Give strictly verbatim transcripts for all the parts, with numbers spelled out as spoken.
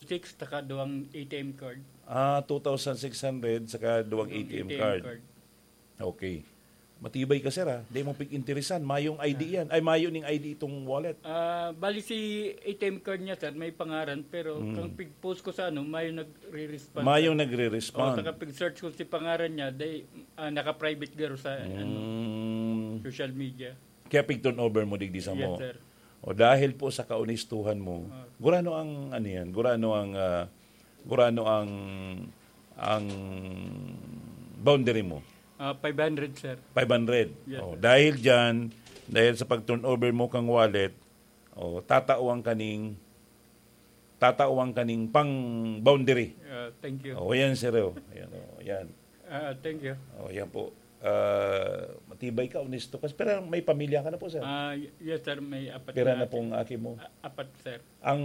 Six, taka duwang A T M card. Ah, two thousand six hundred saka duwang Duwang A T M A T M card. card. Okay. Matibay ka, sir, ah. Di mo pig-interesan. Mayong I D yan. Ay, mayo ning I D itong wallet. Ah, bali si A T M card niya, sir, may pangaran, pero Mm. kang pig-post ko sa ano, mayo nagre-respond, Mayong sir. nagre-respond. Oh, saka pig-search ko si pangaran niya, day, ah, naka-private garo sa, ano, Mm. social media. Kaya pig-turnover mo digdi sa Yes, mo. sir. O dahil po sa kaonistuhan mo, Ah. gurano ang, ano yan, gurano ang, ah, gurano ang, ang boundary mo? Ah, five hundred, sir. Five hundred. Yes, Oh, sir. dahil dyan, dahil sa pag-turnover mo kang wallet, oh, tatawan ka ning, tatawan ka ning pang boundary. Ah, thank you. Oh, yan, sir, oh. Ayan, oh, yan. Ah, thank you. Oh, yan po. Ah, matibay ka, onesto ka. Pero may pamilya ka na po, sir? Ah, y-, yes, sir. May apat Pira na na aki. pong aki mo? A-, apat, sir. Ang,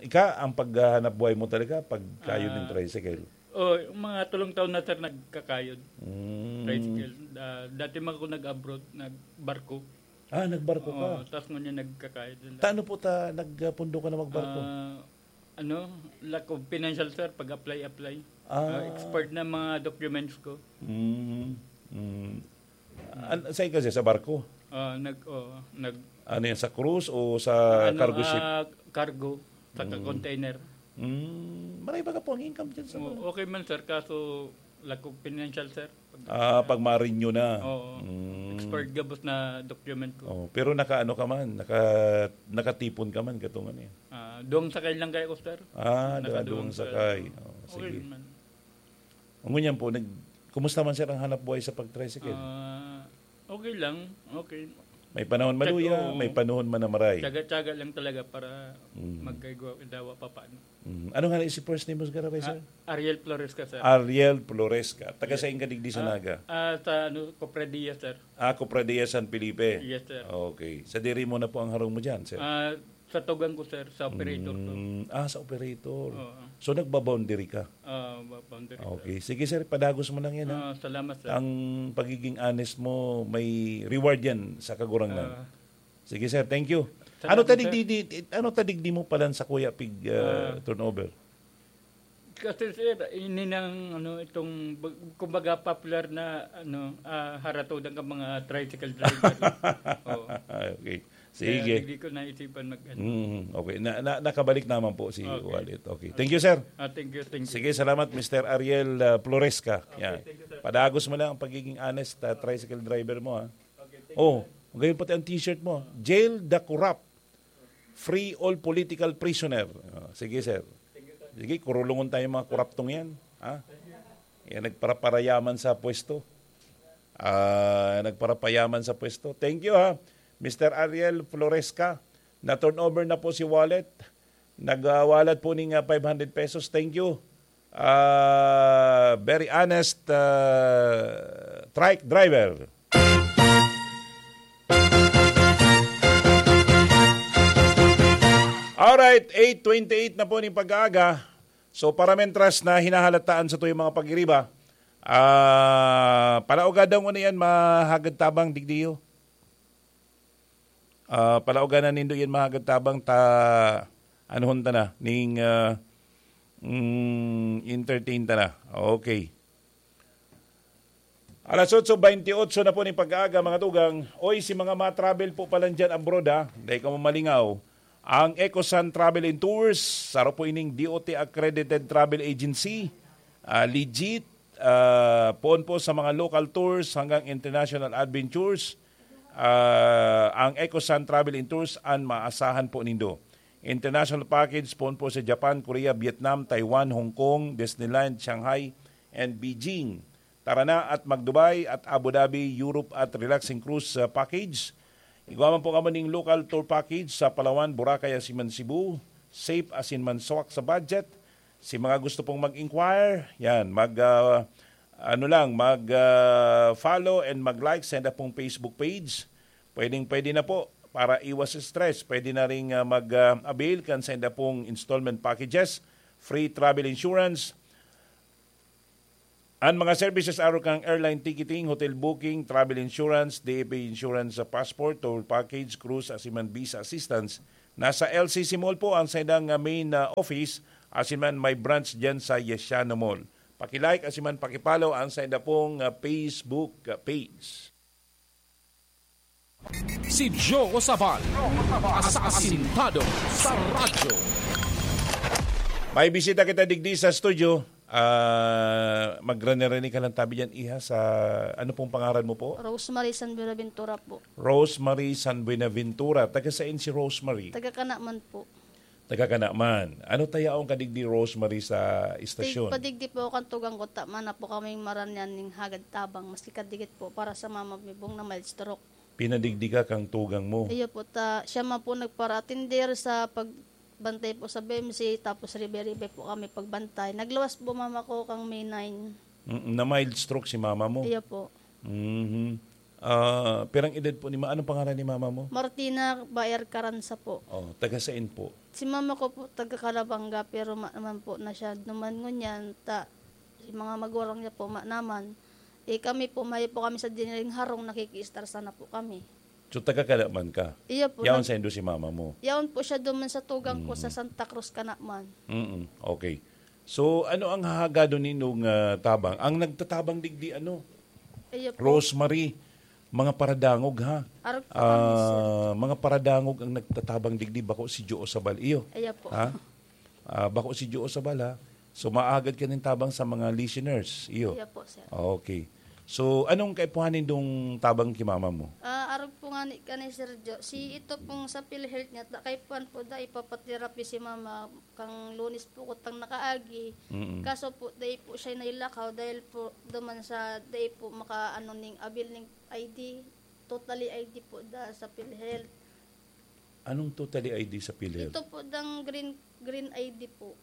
ika, ang paghahanap buhay mo talaga, pagkayod ng Ah, tricycle? Oh, mga tulong taon na, sir, nagkakayod. Mm. Tricycle. Ah, dati man ako nag-abroad, nagbarko. Ah, nagbarko ka? Oo, tas ngunyan nagkakayod na lang. Taano po ta, nagpundo ka na magbarko? Ah, ano, lack of financial, sir, pag-apply, apply. Ah. Ah, expired na mga documents ko. Mm, mm. An-, saan ka, sir? Sa barko? Ah, nag-, oo, nag- Ano yan, sa cruise o sa Ano, cargo ship? ah, cargo, saka Mm. container. Mm, marami baga po ang income dyan sa Oo, mga okay man, sir, kaso lack of financial, sir. Pag, Ah, pag ma-renew na. Oo. Mm. Expired gabos na document ko. Oh, pero nakaano ka man, naka-, nakatipon ka man, katong ano yan. Ah, duwang sakay lang kayo ko, sir. Ah, Naka duwang duwang sakay. sakay. Oh, Okay sige. man. Ngunyan po, nag-, kumusta man, sir, ang hanap buhay sa pag-tricycle? Ah, okay lang. Okay. May panahon Tiyag-, maluya, oo. may panahon man na maray. Tiyaga-tiyaga lang talaga para Mm. magkaigwa-, dawa pa paano. Mm. Ano nga na si first name mo, sir? Ah, Ariel Floresca, sir. Ariel Floresca. Taga Yes. saan ka digdi sa Ah, Naga? ah, sa ano, Cofradia, sir. Ah, Cofradia San Felipe. Yes, sir. Okay. Sa diri mo na po ang harong mo dyan, sir? Ah, sa tugang ko, sir, sa operator ko. Mm, ah, sa operator. Oo. So, nagba-boundary ka? Ah, ba-, boundary, sir. Okay. Sige, sir, padagos mo lang yan, ha? Ah, salamat, sir. Ang pagiging honest mo, may reward yan sa Kagurangnan. Ah. Sige, sir, thank you. Salamat, Ano tadig sir. di, di, ano tadig di mo palan sa kuya pig, ah, Ah. turnover? Kasi, sir, ini nang, ano, itong, bag-, kumbaga, popular na, ano, ah, haratodan ka mga tricycle driver. Oo. Okay. Kaya Sige. hindi ko naisipan mag, ano. Mm, okay. Na, na, nakabalik naman po si Okay. Wallet. Okay. Thank you, sir. Ah, thank you, thank you. Sige, salamat, Mister Ariel, ah, Floresca. Okay, Yan. thank you, sir. Padagos mo lang ang pagiging honest, ah, tricycle driver mo, ha? Okay, thank Oh, you, sir. Ngayon pati ang t-shirt mo. Jail the corrupt. Free all political prisoner. Ah, sige, sir. Thank you, sir. Sige, kurulungon tayo mga koraptong yan. Ha? Yan, nagparaparayaman sa pwesto. Ah, nagparapayaman sa pwesto. Thank you, ha. Mister Ariel Floresca, na-turnover na po si wallet. Nagwalat po ning, ah, five hundred pesos. Thank you. Ah, very honest, ah, trike driver. Alright, eight twenty-eight na po ning pag-aaga. So, para mentras na hinahalataan sa tuyong mga pag-iriba, ah, palaoga daw nguna yan, mahagad tabang, digdiyo. Ah, palaoga na nindo yan, mahagad tabang ta, anuhon ta na, ning, ah, mm, entertain ta na. Okay. Alas otso bentiocho na po ning pag-aaga, mga tugang. Oy, si mga ma-travel po pala dyan abroad, ha? Dai kamo malingaw. Ang Ecosan Travel and Tours, saro po ining D O T accredited travel agency. Ah, legit, ah, poon po sa mga local tours hanggang international adventures. Ah, ang Ecosan Travel and Tours an maasahan po nindo. International package, poon po sa Japan, Korea, Vietnam, Taiwan, Hong Kong, Disneyland, Shanghai, and Beijing. Tara na at mag-Dubai at Abu Dhabi, Europe at relaxing cruise, ah, package. Igwa man po kamo ning local tour package sa Palawan, Boracay, asin man Cebu. Safe asin man swak sa budget. Si mga gusto pong mag-inquire, yan, mag, ah, ano lang, mag, ah, follow and mag-like sa enda pong Facebook page. Pwedeng-pwede na po para iwas stress. Pwede na ring, ah, mag, ah, avail kan sa enda pong installment packages, free travel insurance, An mga services arog kan airline ticketing, hotel booking, travel insurance, D F A insurance sa passport, tour package, cruise, asin man visa assistance. Nasa L C C Mall po ang saindang, ah, main, ah, office. Asin man may branch diyan sa Yesiano Mall. Paki-like asin man paki-follow ang sainda pong, ah, Facebook, ah, page. Si Joe Sabal, asasintado sa radyo. May bisita kita digdi sa studio. Ah, magrani-rani ka lang tabi diyan, iha, sa, ano pong pangaran mo po? Rosemary San Buenaventura po. Rosemary San Buenaventura. Taga saan si Rosemary? Taga Canaman po. Taga Canaman. Ano ta yaon ka digdi, Rosemary, sa istasyon? Tig-, padigdi po ako kan tugang ko, ta mayo po kaming maranian ning hagad tabang, maski kadikit po, para sa mama mi pong na mild stroke. Pinadigdi ka kang tugang mo? Iyo po, ta siya man po nagparaatender sa pagbantay po sa B M C, tapos ribe-ribe po kami pagbantay. Nagluwas po mama ko kang May nine. Mm, na mild stroke si mama mo? Iyo po. Mhm. Ah, pirang edad po ni ma-, anong pangaran ni mama mo? Martina Baer Caranza po. Oh, taga saan po? Si mama ko po, taga Calabanga, pero ma-, naman po na siya duman ngunyan, ta, si mga magulang niya po, ma-, naman. Eh, kami po, mayo po kami sa diniring harong, nakikiistar sana po kami. So, taga Canaman ka? Iyo po, Yaon nag- saindo si mama mo? Yaon po siya duman sa tugang ko sa Mm. Santa Cruz, Canaman. Mm, okay. So, ano ang hahagadon nindong, ah, tabang? Ang nagtatabang digdi, ano? Iyo po. Rosemary, mga paradangog, ha? Arog po kami, sir. Ah, mga paradangog ang nagtatabang digdi, bako si Joe Sabal. Iyo. Iyo po. Ha? Ah, bako si Joe Sabal, ha? So, maagad ka nin tabang sa mga listeners. Iyo. Iyo po, sir. Okay. So, anong kaipuhan nindong tabang ki mama mo? Ah, arog po nga ni, kani Sir Joe. Si ito pong sa PhilHealth niya, ta-, kaipuhan po da, ipapatherapy si mama. Kang Lunes po ko tang nakaagi. Mm. Kaso po, dai po siya nailakaw dahil po duman sa dai po maka-, ano, ning abil ning I D. Totally I D po da sa PhilHealth. Anong totally I D sa PhilHealth? Ito po dang green, green I D po.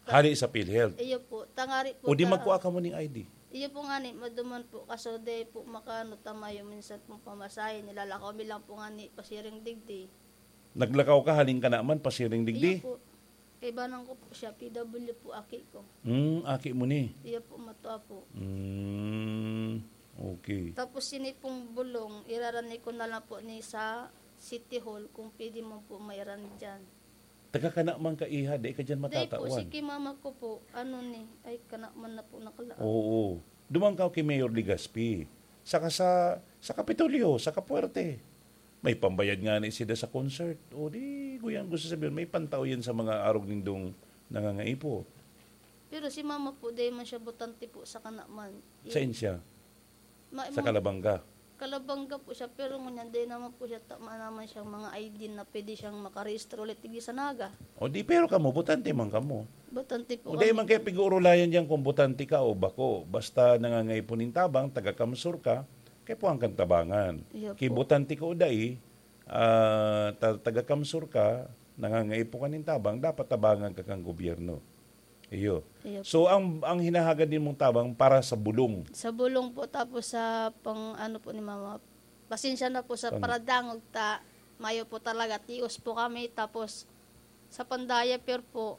Hali sa PhilHealth? Iyo po. Tangari po O di ta- magkua ka mo ning I D? Iyo po nga ni, maduman po. Kaso dai po makaano ta mayo minsan pong pamasahe. Nilalakaw mi lang po nga ni pasiring digdi. Naglakaw ka, halin ka naman, pasiring digdi? Iyo po. Kaibanan ko po siya, P W po, aki ko. Hmm, aki mo ni? Iyo po, matua po. Hmm, okay. Tapos sini pong bulong, irarani ko na lang po ni sa City Hall kung pwede mo po mairani dyan. Taga ka naman ka, iha, di ka dyan Dai po, matatauan. Si ki mama ko po, ano ni, ay, ka naman na po nakalaag. Oo. Duman ka ki Mayor Legaspi. Saka sa, sa Kapitolyo, sa Kapuerte. May pambayad nga na isida sa concert. O di, guyang gusto sabihin, may pantao yan sa mga arog nindong nangangaipo. Pero si mama po, dai man siya botante po sa kanaman. Sa insya? Ma-, Sa ma-, Calabanga? Calabanga po siya, pero ngunyan, dai naman po siya, tama naman siyang mga I D na pwede siyang makarehistro ulit, tigdi sa Naga. O di, pero kamo, botante man kamo. Botante po O di kami. man kaya pig-uurulayan diyan kung botante ka o bako. Basta nangangaipo nin tabang, taga-Kamsur ka, kaya po ang kantabangan. Iya po. Kibotante ka o dai, ah, ta-, taga-Kamsur ka, nangangaipo ka nin tabang, dapat tabangan ka kang gobyerno. Iyo. Iyo po. So, ang, ang hinahagad nimong tabang para sa bulong? Sa bulong po, tapos sa pang, ano po ni mama, pasensya na po sa Pang- paradangog ta, mayo po talaga, tios po kami, tapos sa pang-diaper po,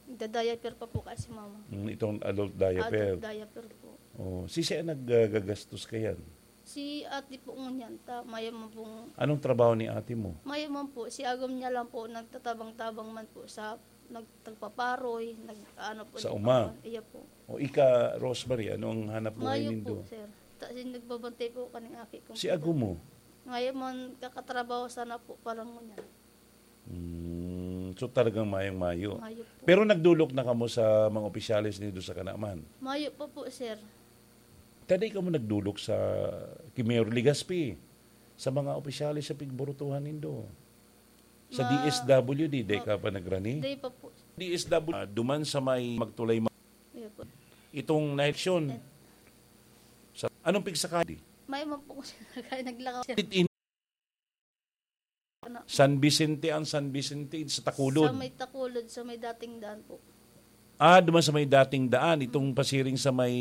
nagda-diaper pa po kasi mama. Mm, itong adult diaper. Adult diaper po. Oh, sisay ang nag-, ah, gagastos kayan? Si ate po ngunyan, ta, mayo man pong Anong trabaho ni ate mo? Mayo man po, si agom niya lang po, nagtatabang-tabang man po sa, nag-, nagpaparoy, nag-, ano po, Sa nag-, uma? Iya po. O ika, Rosemary, anong hanap buhay Mayo nindo? po, sir. Ta, si nagbabantay po kaning aki kong Si pito. agom mo? Ngayon man, kakatrabaho sana po, parang ngunyan. Mm, so talagang mayong-mayo. Mayo po. Pero nagdulok na kamo sa mga opisyales nindo sa kanaman? Mayo pa po, sir. Taday kamo nagdulok sa ki Mayor Legaspi, sa mga opisyales sa pigburutuhan nindo? Sa Ma- D S W D, day Ma- ka pa nagrani? Day pa po. D S W, ah, duman sa may magtulay ma- Mayo po. Itong na-eleksyon. Eh. Sa, anong pigsakali? Mayo man po ko siya naglakaw, sir. It in- Ano? San Vicente ang San Vicente sa Takulod. Sa may Takulod, sa may dating daan po. Ah, duman sa may dating daan, itong pasiring sa may,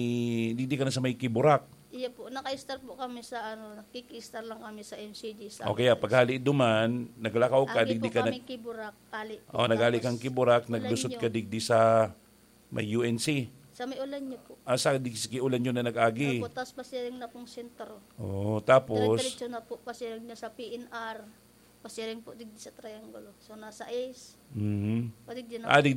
di, di ka na sa may Kiburak. Iya po, naka-star po kami sa ano, nakiki-star lang kami sa M C G sa Okay, ah, paghali duman, naglakaw ka, Agi digdi po ka kami nag- Kiburak, ali po. Oh, naghali Tapos, kang Kiburak, naglusot Ulanyo. ka digdi sa may U N C. Sa may Ulanyo po. Ah, sa digdi sa Ulanyo na nag-agi. Opo, tapos pasiring na pong sentro. Oh, tapos? Dire-diretso na po, pasiring na sa P N R. Pasiring po digdi sa Triangulo. So, nasa Ace. Mhm. Padigdi na Ah, po. digdi